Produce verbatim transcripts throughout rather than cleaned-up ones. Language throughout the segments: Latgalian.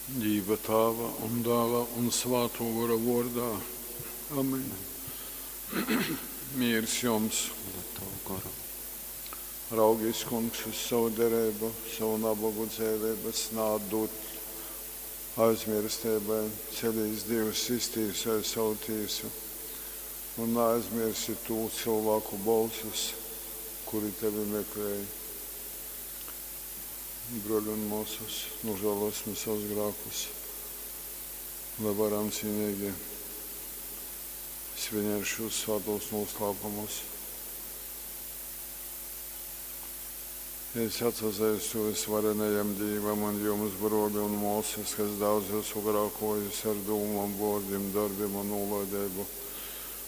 Dīva Tāva un Dāla un Svātō Gora vōrdā. Amen. Mīrs jums! Un ar tavu goru. Raugīs, Kungs, uz savu dereibu, savu nabogu dzeiveibas naatdūt aizmirsteibai. Celīs, Dīvs, iztīsoj savu tīsu un naaizmirsi tū cylvāku bolsus, kuri tevi meklēj. Broļi un mōsas, nožēlosim savus grēkus, lai varam cīnīgi svinēt šos svētos noslēpumus. Es atsazeistu visvarenajam Dīvam un jums, broļi un mōsas, kas daudz esmu grēkojis ar dūmām, vōrdim, darbim un nūlaideibu.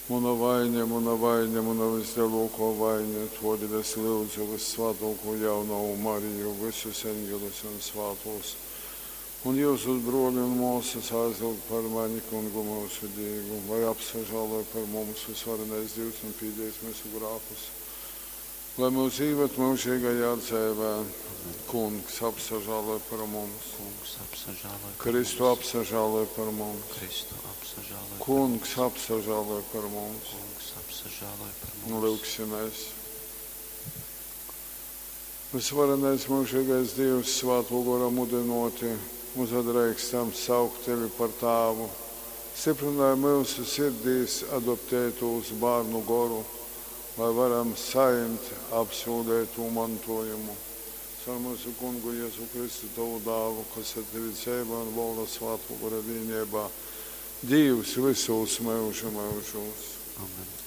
Muna vaine, muna vaine, muna vislielākā vaine, todēļ es lūdzu vissvētāko jaunavu Mariju, visus eņģeļus un svētos. Un jūsus broļi un mōsas aizlūgt par mani, Kungu mūsu Dievu, lai apsažāloj par mums visvarenais Dievs un pīdēs mūsu grēkus. Lai mūs īved mūžīgajā dzīvē, Kungs apsažāloj par mums. Kungs apsažāloj par Kristu mums. Apsažāloj par mums. Kristu apsažāloj par Kungs mums. Apsažāloj par mums. Kungs apsažāloj par mums. Lūgsimies. Visvarenais mūžīgais Dievs, Svētō Gora mudinoti, uzadreikstam saukt tevi par Tāvu. Stiprinai mūsu sirdīs adoptētos bērnu goru, lai varam saņemt apsūlēto mantojumu. Caur mūsu Kungu Jēzu Kristu, tavu dāvu, kas ar tevi dzīvo un valda Svētō Gora vienībā. Dievs visos mūžu mūžos. Amen.